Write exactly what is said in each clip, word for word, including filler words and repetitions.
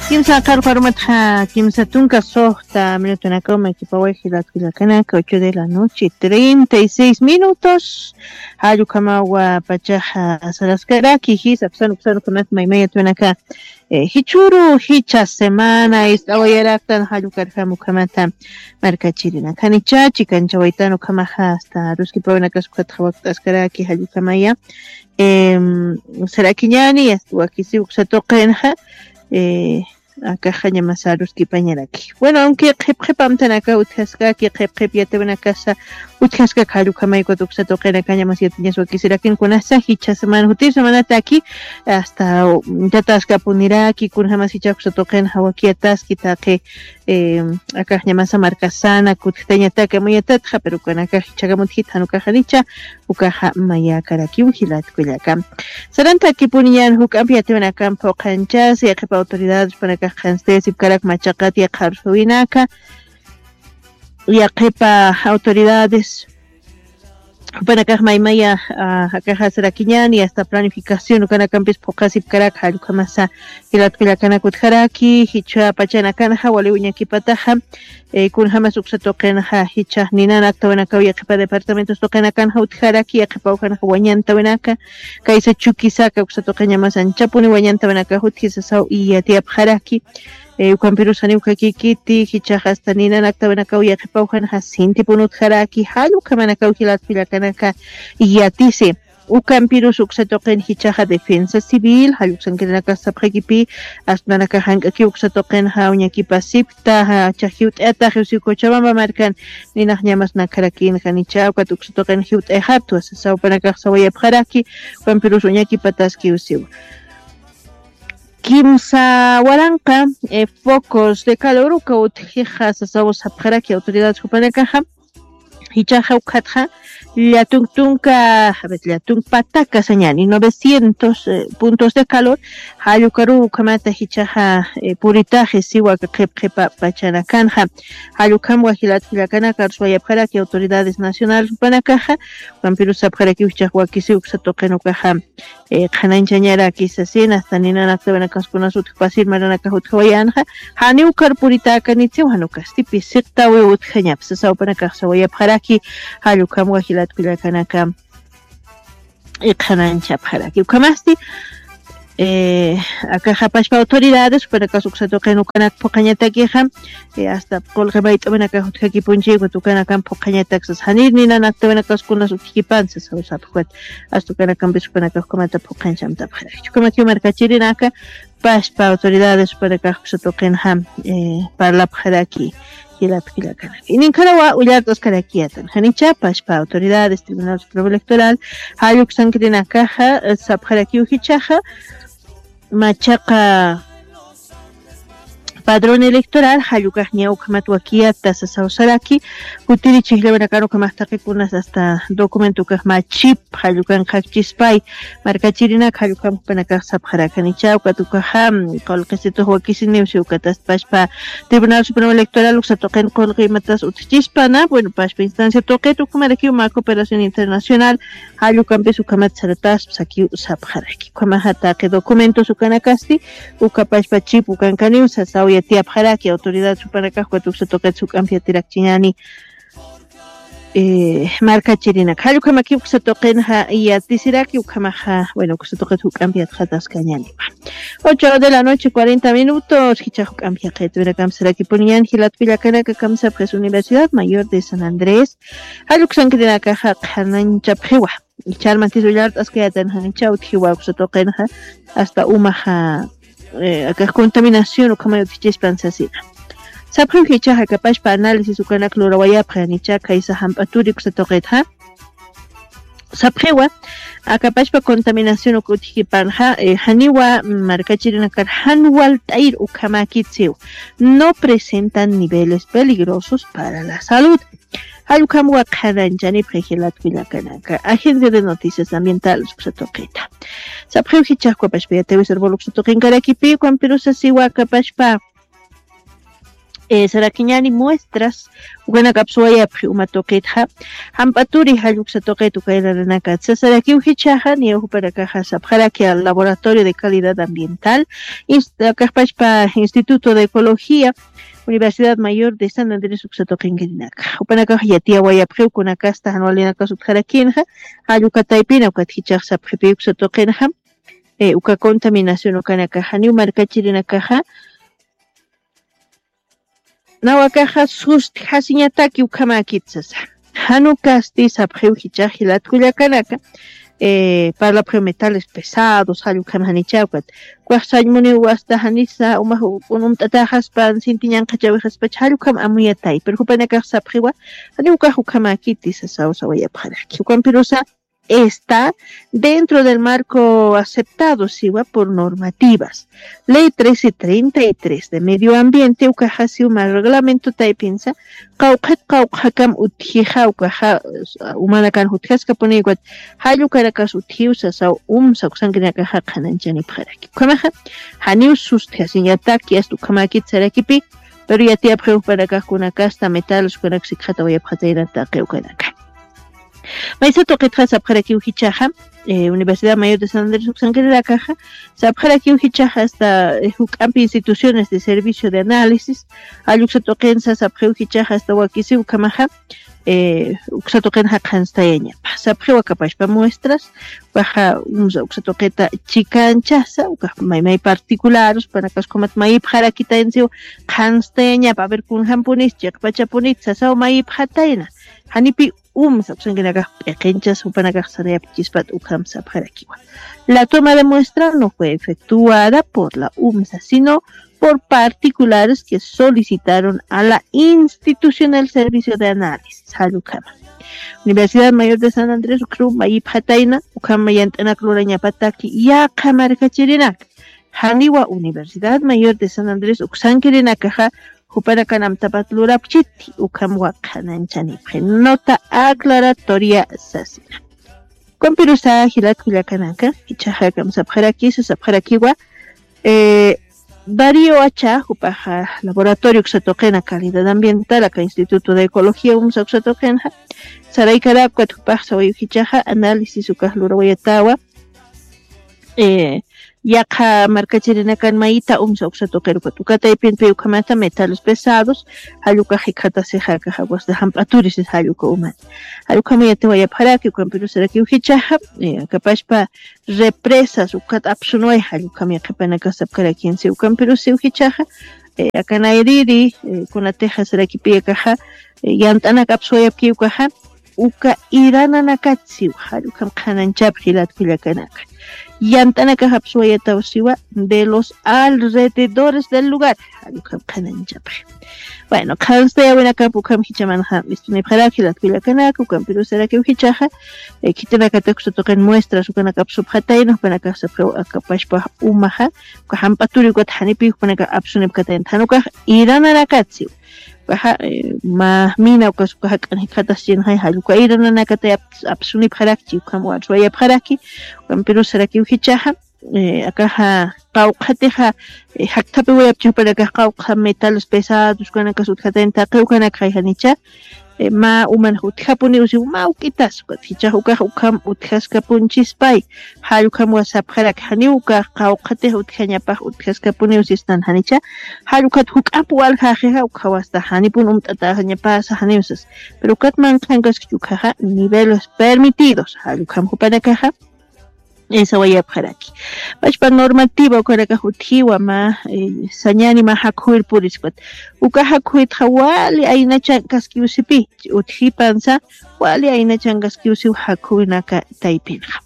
Kimsa qarqarumatxa kimsa tunka suxta minutunakaw maykipaway jilatkullakanaka, ocho de la noche, treinta y seis minutos. Jallukamawa pachaxa saraskaraki jisa psanuksanukamax maymayatuwanaka. Jichuru jicha semana ist'awayaraktan jallukarjam ukhamata markachirina khanicha chikanchawaytan ukhamaxa asta ruskipawinakas ukhatxa wakt'askaraki jallukamaya. Sarakiñani asta wakisi uksatuqinxa. Akaxaña mas aruskipañaraki. Bueno, aunque qhipqhipamtanaka utjaskaki qhipqhip yatiwanakasa utjaskak jallukamaykut uksatuqinakaña mas yatiñas wakisirakin kunasa jicha semana jutir semanataki asta yataskapuniraki kunjamas jicha uksatuqinxa wakiyataski taqi. Akaxñamasa markasana kutjtañataka mayatatxa pero kanakax jichakamuthita janukaxanicha. Ukaxa mayakarakiw jilatkullaka. Sarantakipuniñan juk'ampi yatiwinakampi phuqhanchasi yaqhipa autoridades panakax qhanstayasipkarak machaqat yaqharsuwinaka. Yaqhipa autoridades panakax maymaya akaxa sarakiñani asta planificación ukanakampis phuqhasipkarak jallukhamasa. Jilatkullakanakutjaraki jichha pachanakanxa waliw uñakipataxa. Kunjamas uksatuqinxa jichhax ninan aktawinakaw yaqhipa departamentos tuqinakanxa utjaraki yaqhipa ujanxa wañantawinaka. Kaysa chukisaka uksatuqiñamas anchapuni wañantawinakax utjisasaw iyatiyapxaraki. Ukampirus janiw kakikiti jichhax asta ninan aktawinakaw yaqhipa ujanxa sintipun utjaraki jallukhamanakaw jilatkullakanaka. Iyatisi. Ukampirus uksatuqin jichhaxa defensa civil jalluksankirinakax sapxakipi. Astmanakax jank'akiw uksatuqinxa uñakipasipkta. Jiwt'ayatax usiw cochabamba markan ninaxñamas nakharakinxa nichha ukat uksatuqin jiwt'ayxaptwa sasaw panakax sawayapxaraki. Ukampirus uñakipataski usiw. Kimsa waranqa focos de calor uka utjixa sasaw sapxaraki autoridades jupanakaxa. Jichhaxa ukhatxa llatunk tunka llatunk pataka sañani novecientos puntos de calor. Jallukaruw ukhamata jichhaxa puritaxi siwa qhipqhipa pachanakanxa. Jallukhamwa jilatkullakanaka arsuwayapxaraki autoridades nacionales jupanakaxa. Ukampirus sapxarakiw jichhax wakisiw uksatuqin ukaxa qhananchañaraki sasina asta ninan aktawinakaskunas utjpasir maranakax utjawayanxa. Janiw karpuritäkanitsiw janukasti pisiqtawiw utjañapsa sawpanakax sawayapxaraki. Jallukhamwa jilatkullakanaka qhananchapxaraki ukhamasti. Akaxapashpa autoridades jupanakas uksatuqin ukanak phuqhañatakixa asta qulqi mayt'amanakax utjakipunchi ukat ukanakan phuqhañataksas janir ninan aktawinakaskunas utjkipansas jawsapxwat. Asta ukanakampis ukanakax ukamata phuqhañchamtapxaraki chukamakiw markachirinaka. Pashpa autoridades upanakax uksatuqinxa parlapxaraki. Jilatkullakanaka ininkharawa ullart'askarakiyatan janicha pashpa autoridades tribunal supremo electoral jalluksankirinakaxa sapxarakiw jichhaxa machaqa padrón electoral jallukaxña ukhamat wakiyata sasawsaraki. Jutiri chijllawanakan ukhamax taqikunas asta documento ukax machip jallukan qhakchispay. Markachirinak jallukam jupanakax sapxarakanicha ukat ukaxa qulqisitux wakisiniw si ukatas pashpa tribunal supremo electoral uksatuqin qulqi imatas utjchispana bueno pashpa instancia tuqit ukhamarakiw mä cooperación internacional. Jallukampis ukhamat sarataspa sakiw sapxaraki ukhamaxa taqi documentos ukanakasti. Ukapashpa chip ukankaniw sasaw yatiyapxaraki autoridad supanakax ukat uksatuqit suk'ampi yatirakchiñani. Markachirinak jallukamakiw uksatuqinxa yatisiraki ukhamaxa bueno uksatuqit juk'ampi yatxataskañaniwa. Ocho de la noche cuarenta minutos jichhax juk'ampi yaqitwirakampi sarakipuniñan jilatkullakanaka kamsapxis universidad mayor de san andrés. Jalluksankirinakaxa qhananchapxiwa. Charmantis ullart'askayatan janicha utjiwa uksatuqinxa asta umaxa akax contaminación ukhamay utjchispan sasina. Sapxiw jichhaxa kapashpa análisis ukanak lurawayapxi janicha khaysa jamp'aturi uksatuqitxa. Sapxiwa akapashpa contaminación uka utjkipanxa janiwa markachirinakar jan walt'ayir ukhamäkitsiw. No presentan niveles peligrosos para la salud. Jallukhamwa qhananchani pxijilatkullakanaka agencia de noticias ambientales uksatuqita. Sapxiw jichhax ukapashpa yatiyawisar bol uksatuqinkarakipi ukampirus sasiwa akapashpa Sarakiñani muestras ukanakapsuwayapxi uma tuqitxa. Jamp'aturi jalluksa tuqit ukaylarinakatsa sarakiw jichhaxa niyaw jupanakaxa sapxaraki al laboratorio de calidad ambiental, kajpachpa instituto de ecología, universidad mayor de san andrés uksa tuqinkirinaka jupanakax yatiyawayapxiw kunakasta janwalinakas utjarakinxa. Jallukataypina ukat jichhax sapxipiw uksa tuqinxa. Uka contaminación ukanakaxa niw markachirinakaxa nawakaxa sustjasiñataki ukhamäkit sasa. Janukasti sapxiw jichhax jilatkullakanaka. Parlapxiw metales pesados jallukham janichawkat. Ukax sañmuniw wasta janisa umax unumt'ataxaspan sintiñanqachawixaspacha jallukham amuyatay pero jupanakax sapxiwa. Janiw ukax ukhamäkiti sasaw sawayapxaraki ukampirusa está dentro del marco aceptado siwa por normativas. Ley trece treinta y tres de medio ambiente ukaxasiw ma reglamento taypinsa qawqhat qawqhakam utjixa ukaxa umanakan jutjaskapuniwkat. Jallukarakas utjiw sasaw umsa uksankirinakaxa qhananchanipxaraki ukhamaxa. Janiw sustjasiñataki asta ukhamäkit sarakipi. Pero yatiyapxiw jupanakax kunakasta metales ukanak sikxatawayapxatayna taqi ukanaka. Maysa tuqitxa sapxarakiw jichhaxa universidad mayor de san andrés uksankirinakaxa sapxarakiw jichhaxa asta juk'ampi instituciones de servicio de análisis jalluksa tuqinsa sapxiw jichhaxa asta wakisiw ukhamaxa. Uksa tuqinxa qhanstayañapa sapxiw akapachpa muestras ukaxa umsa uksa tuqita chikanchasa ukax maymay particulares panakaskhumat mayipxarakitaynsiw. Qhanstayañapa aver kunjampunis chiqpachapunit sasaw mayipxatayna. Janipi umsa uksankinakax p'iqinchas jupanakax sarayapkichispat ukham sapxarakiwa. La toma de muestra no fue efectuada por la umsa sino por particulares que solicitaron a la institución el servicio de análisis jallukhama. Universidad mayor de san andrés ukhru mayipxatayna ukhama yant'anak lurañapataki yaqha markachirinaka. Janiwa universidad mayor de san andrés uksankirinakaxa jupanakan amtapat lurapchiti ukham waqhananchanipxi nota aclaratoria sasina. Ukampirusa jilatkullakanaka jichhaxakam sapxarakisa sapxarakiwa. Darío acha jupaxa laboratorio uksa tuqina calidad ambiental aka instituto de ecología umsa uksa tuqinxa. Saraykarakpat jupax sawayu jichhaxa análisis ukax lurawayatawa. Yaqha markachirinakan mayita umsa uksa tuqirukat ukataypinpi ukhamata metales pesados. Jallukax jikxatasixakaxa wasta jamp'aturisis jalluka umani. Jallukhama yatiwayapxaraki ukampirusarakiw jichhaxa. Akapachpa represas ukat apsunway jallukhama yaqhipanaka sapkarakinsi ukampirusiw jichhaxa. Akanayriri kunatixa sarakipiyakaxa yant'anak apsuwayapkiwkaxa. Uka irananakatsiw jallukham qhananchapxi jilatkullakanaka. Yant'anakax apsuwayatawsiwa de los alrededores del lugar. Jallukham qhananchapxi. Bueno, qhanstayawinakap ukham jichhamanxa mistunipxarak jilatkullakanaka ukampirusarakiw jichhaxa. Khitinakatak usa tuqin muestras ukanak apsupxatayna jupanakax sapxiw akapachpa umaxa. Uka jamp'aturi ukat janipi jupanakax apsunipxatayna janukax irananakatsiw. Ukaxa mä mina ukas uka jak'an jikxataschinxay jalluka irananakatay apsunipxarakchi ukham warsuwayapxaraki. Ukampirusarakiw jichhaxa. Akaxa qawqhatixa jakthapiwayapchi jupanakax qawqha metales pesados ukanakas utjatayna taqi ukanakxay janicha. Mä umanxa utjapuniwsiw mä uk'itas ukat jichhax ukax ukham utjaskapunchispay. Jallukhamwa sapxarak janiw ukax qawqhatix utjañapax utjaskapuniw sistan janicha. Jallukhat juk'amp waljaxixa ukhawasta janipun umt'ataxañapasa janiw sas. Pero ukat manqhankaskich ukhaxa niveles permitidos jallukham jupanakaxa. Sawayapxaraki. Pachpa normativa ukanakax utjiwa mä sañani mä jakhuwir purispat. Uka jakhuwitxa wali aynachankaskiwsipi utjipansa wali aynachankaskiwsiw jakhuwinaka taypinxa.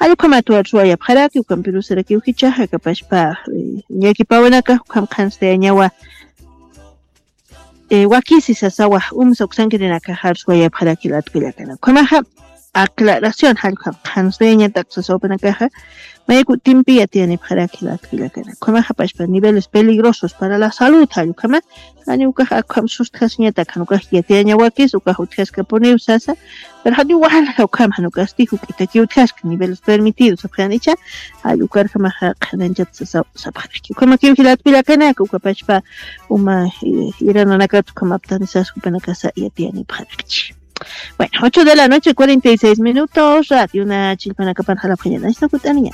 Jallukhamat warsuwayapxaraki ukampirusarakiw jichhaxa akapachpa ñakipawinakax ukham qhanstayañawa. Wakisi sasawa umsa uksankirinakaxarsuwayapxaraki latkullakana ukhamaxa. aclaración, jallukama qhanstayañatak sasa jupanakaxa, mayku timpi yatiyanipxaraki jila atpillakana. Ukhamaxa pachpa niveles peligrosos para la salud, jallukama, jani ukax akham sustjasiñatak, jan ukax yatiyañawakis, ukax utjaskapuniw sasa, pero jani walja ukham, jan ukasti juk'itaki utjaska, niveles permitidos, sapxan icha, jall ukarjamaxa qhananchat sasa, sapxaraki. Ukhamakiw jila atpillakanaka, uka pachpa uma, eh, irananakat ukhamaptani sasa, jupanakasa yatiyanipxarakchi. Bueno, ocho de la noche, cuarenta y seis minutos, radio na chillpanakapan jalapxañana, istakut'aniña.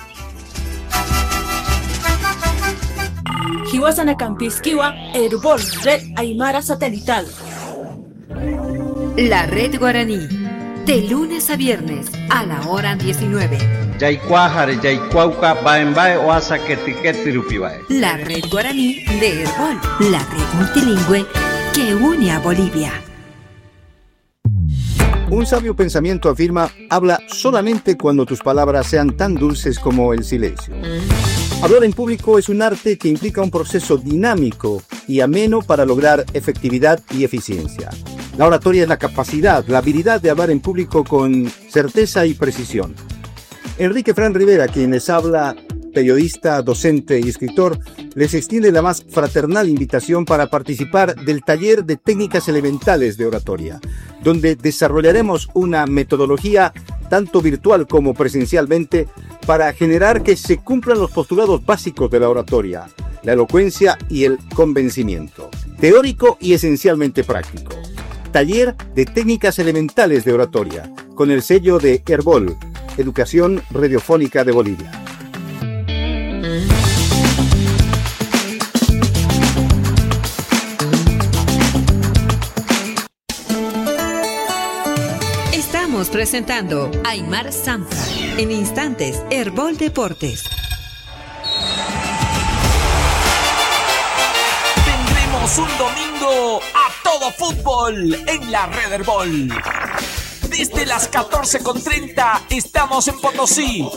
Jiwasanakampïskiwa Erbol Red Aymara Satelital. La Red Guaraní, de lunes a viernes, a la hora diecinueve. Yaykuwaxari, yaykuwawka, baembae oasa ketiketi rupiwae. La Red Guaraní de Erbol, la red multilingüe que une a Bolivia. Un sabio pensamiento afirma: "Habla solamente cuando tus palabras sean tan dulces como el silencio". Hablar en público es un arte que implica un proceso dinámico y ameno para lograr efectividad y eficiencia. La oratoria es la capacidad, la habilidad de hablar en público con certeza y precisión. Enrique Fran Rivera, quien les habla, periodista, docente y escritor, les extiende la más fraternal invitación para participar del taller de técnicas elementales de oratoria, donde desarrollaremos una metodología, tanto virtual como presencialmente, para generar que se cumplan los postulados básicos de la oratoria, la elocuencia y el convencimiento. Teórico y esencialmente práctico. Taller de técnicas elementales de oratoria, con el sello de Erbol, Educación Radiofónica de Bolivia. Estamos presentando Aymar Sampa. En instantes, Erbol Deportes. Tendremos un domingo a todo fútbol en la Red Erbol. Desde las catorce con treinta estamos en Potosí,